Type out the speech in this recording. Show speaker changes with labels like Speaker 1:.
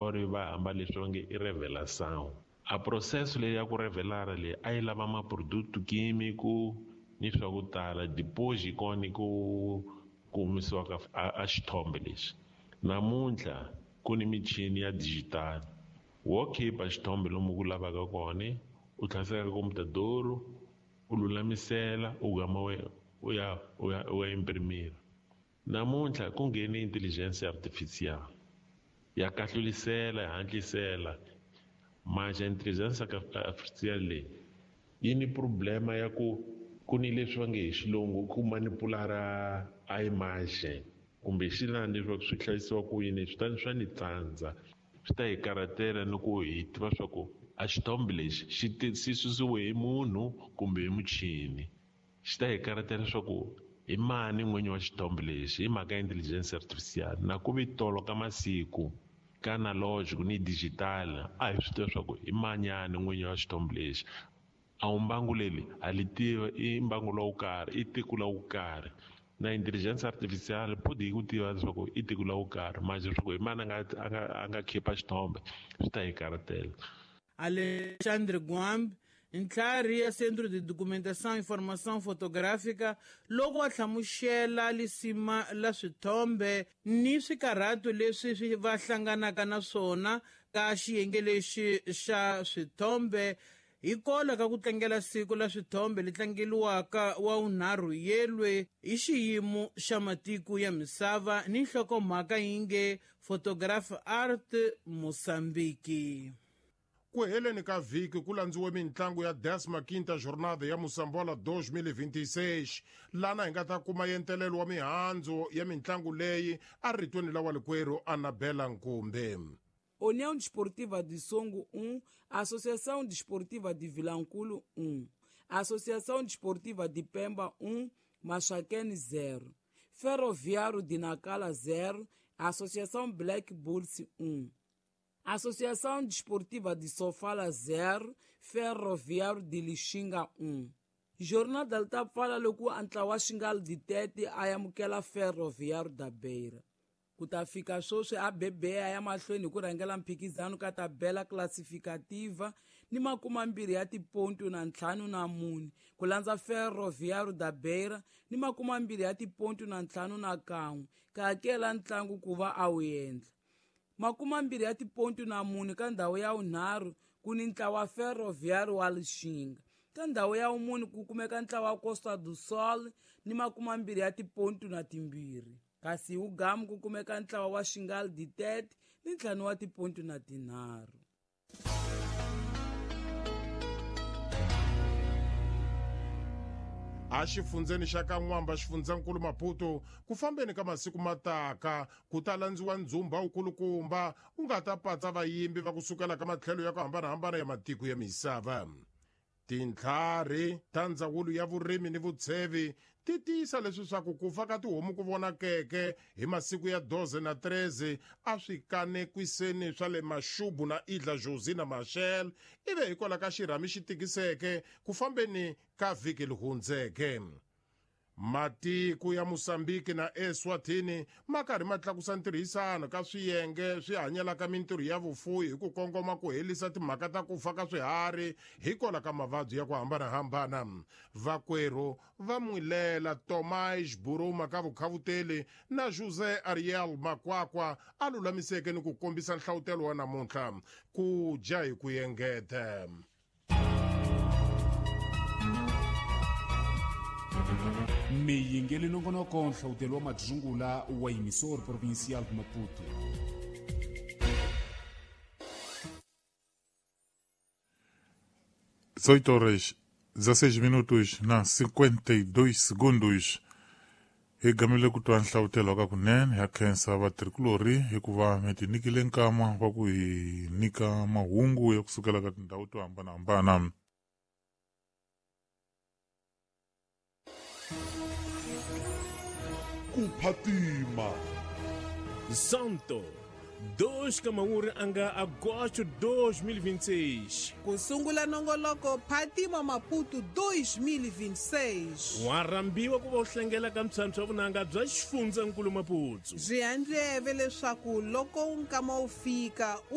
Speaker 1: Ori va hamba leswi va nge i revelação. A processo leyi ya ku revelara leyi a yi lava ma-produto químico ni swa ku tala, depois hi kona ku humesiwa ka a xithombe lexi. Namuntlha ku ni michini ya digital, wo khipha xithombe lomu ku lavaka kona, u tlhasela ka computador, u lulamisela, u gama u ya u ya u ya imprimira. Namuntlha ku nghene intelligence artificial ya kahlulisela, ya hatlisela. Manje intelligence artificial leyi yi ni problema ya ku ku ni leswi va nge hi xilungu ku manipulara a image kumbe xilani leswaku swi hlayisiwa ku yini, swi ta swa ni tsandza, swi ta hi karhatela ni ku hi tiva swa ku a xithombe lexi xi xi susiwe hi munhu kumbe hi muchini. Xi ta hi karhatela leswaku hi mani n'winyi wa xithombe lexi hi mhaka ya intelligence artificial. Na ku vi tolo ka masiku ka analogic ni digital a hi swi tiva leswaku i manyani n'winyi wa xithombe lexi. A wu mbangu leri ha li tiva, i mbangu lowu karhi, i tiko lowu karhi. Na intelligence artificial podi yi ku tiva leswaku i tiko lowu karhi, manje leswaku hi mani a nga khipha xithombe swi ta hi karhatela.
Speaker 2: Alexandre Guambe, ntlhari ya Centro de Documentação e Formação Fotográfica, loko a hlamusela lisima la swithombe ni swikarhato leswi swi va hlanganaka na swona ka xiyenge lexi xa swithombe hi kola ka ku tlangela siku la swithombe li tlangeliwaka wa vunharhu yelwe hi xiyimo xa matiko ya misava ni nhlokomhaka yi nge Photograph Art Mozambique.
Speaker 3: Ku heleni ka vhiki ku landziwe mintlangu ya 15ª Jornada ya Moçambola 2026, lana hi nga ta kuma yentelelo wa mihandzu ya mintlangu leyi a ritweni la walikwerhu Anabela Nkumbe.
Speaker 4: União Desportiva de Songo 1, Associação Desportiva de Vilanculo 1, Associação Desportiva de Pemba 1, Maxaquene 0, Ferroviário de Nacala 0, Associação Black Bulls 1, Associação Desportiva de Sofala 0, Ferroviário de Lixinga 1. Jornada li ta pfala loko ntlawa wa Xingal de Tete a amukela Ferroviário da Beira. Ku ta fika sweswi a BBA ya mahlweni hi ku rhangela mphikizano ka tabela classificativa ni 24 ya tipontu na 54, ku landza Ferroviário da Beira ni 20 ya tipontu na 51, ka hakela ntlangu ku va a wu endla. 24 ya tipontu na 4 ka ndhawu ya vunharhu ku ni ntlawa Ferroviário wa Lixinga. Ka ndhawu ya vumune ku kumeka ntlawa Costa do Sol ni 20 ya tipontu na 2. Kasi hi wugamu ku kumeka ntlawa wa Xingal de Tete ni 5 wa tipontu na 3.
Speaker 3: A xifundzeni xa ka N'wamba, xifundzankulu Maputo, ku fambeni ka masiku mataka ku ta landziwa ndzhumba wukulukumba wu nga ta patsa vayimbi va kusukela ka matlhelo ya ku hambanahambana ya matiko ya misava. Tintlhari ta ndzawulo ya vurimi ni vutshevi ti tiyisa leswi swa ku ku fa ka tihomu ku vonakeke hi masiku ya 12 na 13 a swi kanekwiseni swa le Maxubu na Idla Jozi na Machel, ivi hikwalaho ka xirhami xi tikiseke ku fambeni ka vhiki li hundzeke. Matiko ya Mozambique na Eswatini ma karhi ma tlakusa ntirhisano ka swiyenge swi hanyelaka mintirho ya vufuwi hi ku kongoma ku helisa timhaka ta ku fa ka swiharhi hikwalaho ka mavabyi ya ku hambanahambana. Vakwerhu va Mwilela Tomás Buruma ka vukhavuteli na José Ariel Makwakwa a lulamiseke ni ku kombisa nhlavutelo wa namuntlha ku dya hi ku engeta.
Speaker 5: Miyingeli nongonoko nhlawutelo wa madzungula wa emissor provincial de Maputo.
Speaker 6: 18 horas 16 minutos na 52 segundos. Hi gamile ku twa nhlavutelo ka kunene ha khensa vatirhikulorhi hikuva mi ti nyikile nkama wa ku hi nyika mahungu ya kusukela ka tindhawu to hambanahambana.
Speaker 7: Ku phatima
Speaker 8: Santo
Speaker 7: 2 ka mawuri a nga agosto 2026.
Speaker 8: Ku sungula nongoloko Phatima Maputo 2026.
Speaker 7: Wa rhambiwa ku va u hlengela ka mphyamphya vunanga bya xifundzankulu Maputo.
Speaker 8: Byi handleve leswaku loko nkama wu fika.